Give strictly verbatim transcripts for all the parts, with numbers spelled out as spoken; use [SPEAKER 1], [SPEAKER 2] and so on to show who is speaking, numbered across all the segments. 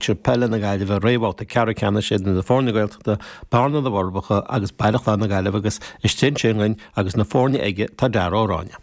[SPEAKER 1] Peile na Gaillimhe réamhbhabhta ceathrú ceannais idir na foirne Gaeltachta, Bearna na bhForbacha agus Baile Chláir na Gaillimhe agus istigh ansin againn agus na foirne aige tá Dara Ó Ráinne.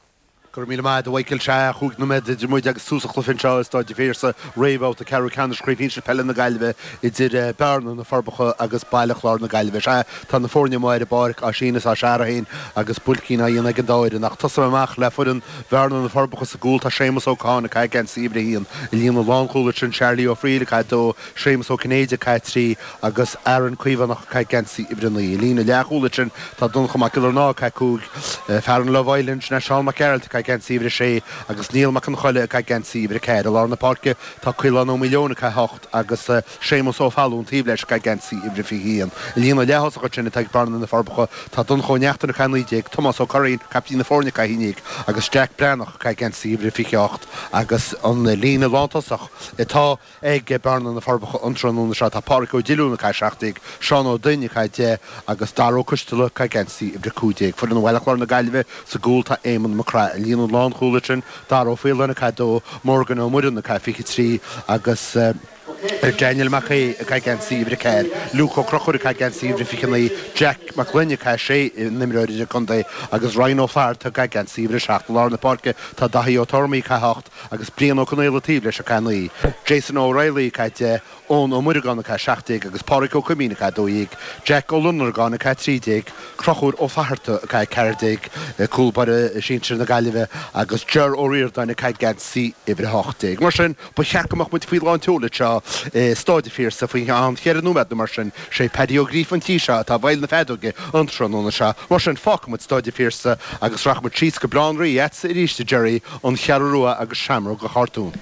[SPEAKER 2] Go raibh míle maith agat a Mhichael. Sea, chúig nóiméad idir muid agus tús an chluiche anseo i Staid an Phiarsaigh, réamhbhabhta ceathrú ceannais Chraobh Shinsir Peile na Gaillimhe idir Bearna, Na Forbacha agus Baile Chláir na Gaillimhe. Sea, tá na foirne amuigh ar an bpáirc á síneadh is á searradh féin agus buailcín á dhéanamh ag an dá fhoireann. Ach tosóidh mé amach le foireann Bhearna, Na Forbacha sa gcúl tá Séamus Ó Catháin ag caitheamh geansaí uimhir a haon. I líne lánchúil ansin Charlie Ó Frighil ag caitheamh dó, Séamus Ó Cinnéide ag caitheamh trí agus Aaron Caomhánach ag caitheamh geansaí uimhir a naoi. I líne leathchúil ansin tá Donncha Mac Giollarnáth ag caitheamh cúig, fear an Love Island, sin é Seán Mac Gearailt ag caitheamh geansaí uimhir a sé agus Niall Mac an Choille ag caitheamh geansaí uimhir a ceathair. I lár na páirce tá Caolán Ó Maoileoin ag caitheamh hocht agus Séamus Ó Fallúin taobh leis ag caitheamh geansaí uimhir a fiche haon. I líne leath-thosach ansin atá ag Bearna na Forbacha tá Donncha Ó Neachtain ag caitheamh naoi déag, Tomás Ó Curraoin, caiptín na foirne ag caitheamh a haon déag agus Jack Breathnach ag caitheamh geansaí uimhir a fiche hocht agus an líne lántosach atá ag Bearna na Forbacha an tráthnóna seo tá Pádraic Ó Diliún ag caitheamh seacht déag, Seán Ó Duinn ag caitheamh deich agus Dara Ó Coisteala ag caitheamh geansaí uimhir a cúig déag. Foireann Bhaile Chláir na Gaillimhe sa gcúl tá Éamonn Mac Craith. I líne lánchúil ansin Dara Ó Faoláin ag caitheamh dó, Morgan Ó Muireann ag caitheamh fiche trí agus Daniel Mac Aodha ag caitheamh geansaí uimhir a ceathair, Luke Ó Conchúir ag caitheamh geansaí uimhir a fiche naoi, Jack Mac Gloinn ag caitheamh sé, an imreoir idirchontae, agus Ryan Ó Flatharta ag caitheamh geansaí uimhir a seacht. I lár na páirce tá Daithí Ó Tormaí ag caitheamh hocht agus Brian Ó Conaola taobh leis ag caitheamh naoi, Jason O'Reilly ag caitheamh deich, Eoin Ó Muireagáin ag caitheamh seacht déag agus Pádraig Ó Coimín ag caitheamh dó dhéag, Jack Ó Lonargáin ag caitheamh trí déag, Conchúr Ó Fatharta ag caitheamh ceathair déag, cúl báire sinsir na Gaillimhe, agus Ger Ó Ríordáin ag caitheamh geansaí uimhir a hocht déag. Mar sin, ba cheart go mbeadh muid faoi lán tseoil anseo i Stáid an Phiarsaigh faoi cheann cheithre nóiméad nó mar sin. Sé Paddy Ó Gríofa an tí seo atá i bhfeighil na feadóige an tráthnóna seo. Mar sin, fágfaidh muid Stáid an Phiarsaigh agus rachaidh muid síos go Baile Átha an Rí agatsa arís, a Gerry, An Cheathrú Rua agus Seamróg an Chartúin.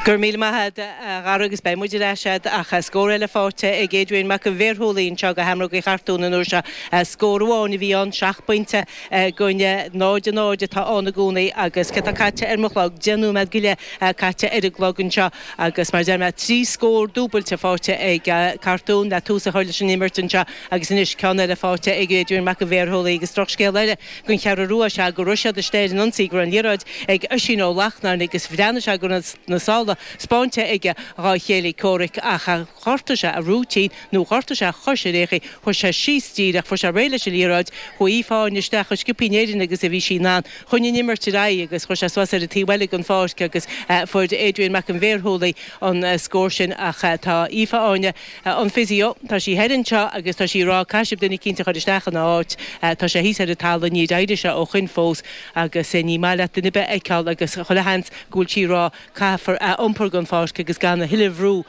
[SPEAKER 3] Go raibh míle maith agat a Dhara agus beidh muid ar ais agat ach scór eile faighte ag Adrian Mac an Bhéarshúilí anseo do Sheamróga Uí Chartúin an uair seo. Scór amháin a bhí ann, seacht bpointe i gcoinne náid a náid atá ann i gcónaí agus cé tá caite ar mo chlog, deich nóiméad go leith caite ar an gclog anseo agus mar a deir mé trí scór dúbailte faighte ag Cartún le tús a chur leis an imirt anseo agus anois ceann eile faighte ag Adrian Mac an Bhéarshúilí agus drochscéal eile don Cheathrú Rua is ea go raibh siad istigh ar an ionsaí go raibh an liathróid ag Oisín Ó Lachtnáin agus bhreathnaigh sé go raibh na sála spáinte aige dhá chéile comhraic ach ghortaigh sé a rúitín nó ghortaigh sé a chois ar aon chaoi, chuaigh sé síos díreach, fuair sé réidh leis an liathróid, chuaigh Aoife Áine isteach chomh sciobtha in Éirinn agus a bhí sí in ann, choinnigh an imirt ar aghaidh agus chuir sé suas ar an taobh eile den pháirc agus fuair Adrian Mac an Bhéarshúilí an scór sin ach tá Aoife Áine an physio, tá sí thoir anseo agus tá sí ag rá caithfidh sibh duine eicínt a chur isteach ina áit, tá sé thíos ar an talamh, níor éirigh sé ó shoin fós agus ní maith leat duine ar bith a fheiceáil agus chuile sheans go bhfuil sí ag rá caithfear é a iompar den pháirc agus gan a thuilleadh bhrú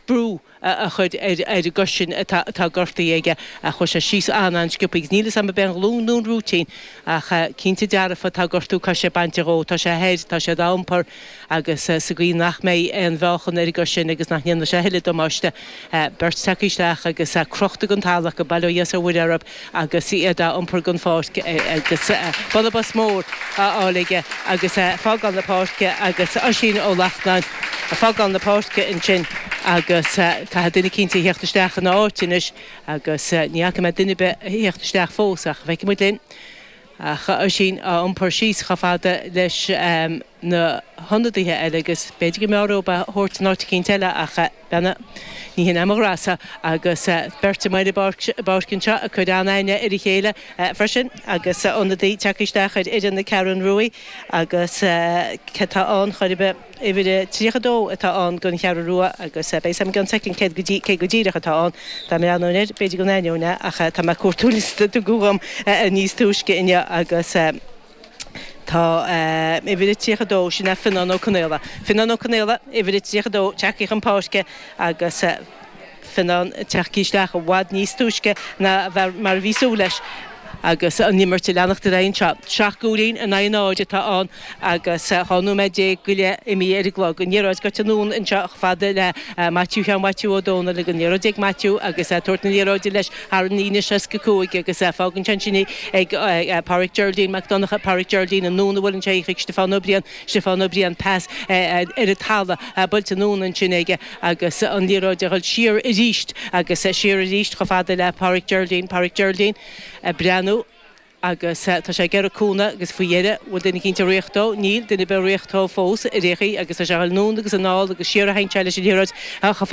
[SPEAKER 3] brú a chur ar an gcois sin atá gortaithe aige. Chuaigh sé síos an-an-sciobtha agus níl 'fhios a'm ab é an ghlúin nó an rúitín ach cinnte dearfa tá gortú coise bainte dhó. Tá sé thoir, tá siad á iompar agus sa gcaoi nach mbeidh aon mheáchan ar an gcois sin agus nach ndéanfaidh sé a thuilleadh damáiste. Beirt tagtha isteach agus crochta den talamh acu, bail ó Dhia is ó Mhuire orthu agus iad á iompar den pháirc agus bualadh bos mór á fháil aige agus é ag fágáil na páirce agus Oisín Ó Lachtnáin ag fágáil na páirce ansin agus caithfidh duine eicínt a theacht isteach ina áit anois agus ní fhaca mé duine ar bith a theacht isteach fós ach feicfidh muid linn. Ach Oisín á iompar síos chomh fada leis na hionadaithe eile agus b'fhéidir go mb'fhearr dóibh é a thabhairt in áit eicínt eile ach beanna, ní hin é mo ghrása agus beirt amuigh ar an bpáirc anseo ag cur an-aithne ar a chéile freisin agus ionadaí tagtha isteach ar fhoireann na Ceathrún Ruaidh agus cé tá ann chor ar bith? Uimhir a tríocha dó atá ann don Cheathrú Rua agus beidh 'fhios a'm i gceann soicind céard go cé go díreach atá ann. Dá mbreathnóinn air, b'fhéidir go n-aithneoinn é ach tá mé ag cuartú liosta a tugadh dhom níos túisce inniu agus tá uimhir a tríocha dó, sin é Fionnán Ó Conaola. Fionnán Ó Conaola, uimhir a tríocha dó, tagtha chun páirce agus. Fionnán tagtha isteach i bhfad níos túisce ná mar a bhí súil leis agus an imirt ag leanacht ar aghaidh anseo. Seacht gcúilín in aghaidh náid atá ann agus dhá nóiméad déag go leith imithe ar an gclog. An liathróid gaibhte anonn anseo chomh fada le Maitiú Sheáin Mhaitiú Ó Dónaill agus an liathróid ag Maitiú agus é ag tabhairt na liathróide leis thar an líne seasca cúig agus fágann sé ansin í ag Pádraic Geraldine Mac Donncha, Pádraic Geraldine anonn a bhuaileann sé í chuig Stiofán Ó Briain, Stiofán Ó Briain pas ar an talamh buailte anonn ansin aige agus an liathróid a dhul siar arís agus siar arís chomh fada le Pádraic Geraldine, Pádraic Geraldine ag breathnú agus tá sé ag iarraidh cúnamh agus faoi dheireadh bhfuil duine eicínt ag ritheacht dó, níl duine ar bith ag ritheacht dó fós ar aon chaoi agus tá sé anonn agus anall agus siar a théann sé leis an liathróid chomh